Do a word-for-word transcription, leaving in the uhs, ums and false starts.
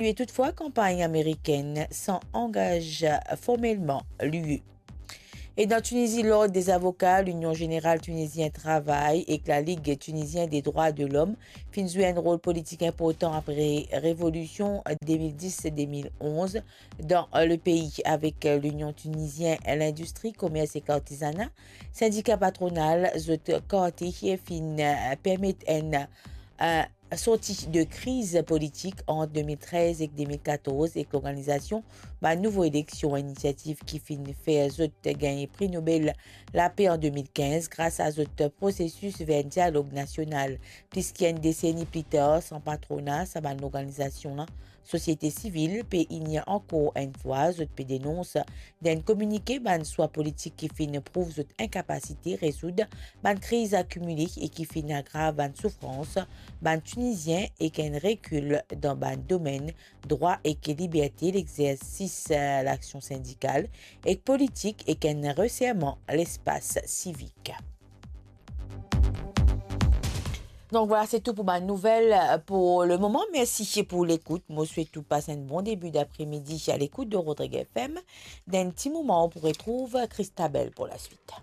salye toutfwa kanpagn amerikenn san angaz formelman l'U E. E dan Tinizi, Lord dezavoka, Linion Zeneral Tinizien Travay ek Lalig Tinizien de Drwa de Lom finn zwe enn rol politik inportan apre revolision de mil dis de mil onz dan lepei, avek Linion Tinizien Lindistri, Komers ek Artizana, sindika patronal zot karte finn permet enn, eh, sorti de kriz politik ant de mil trez ek de mil katorz ek lorganizasion bann nouvo eleksion, inisiativ ki finn fer zot gagn Pri Nobel Lape an de mil kinz gras a zot prosesis ver dialog nasional. Plis ki enn desenni pli tar, san patrona sa bann lorganizasion la, sosiete sivil pe ini ankor enn fwa, zot pe denons dan enn kominike bann swa politik ki finn prouv zot inkapasite rezoud bann kriz akimile e ki finn agrav bann soufrans bann Tinizien ek enn rekil dan bann domenn drwa ek liberte, lexersis, eh, laksion sindikal ek politik ek enn reserman lespas sivik. Donk vwala, se tou pou bann nouvel pou lemoman. Mersi pou lekout. Mo swet ou pas enn bon debi dapremidi a lekout de Rodrigue F M. Dan enn ti moman, ou pou retrouv Christabel pou laswit.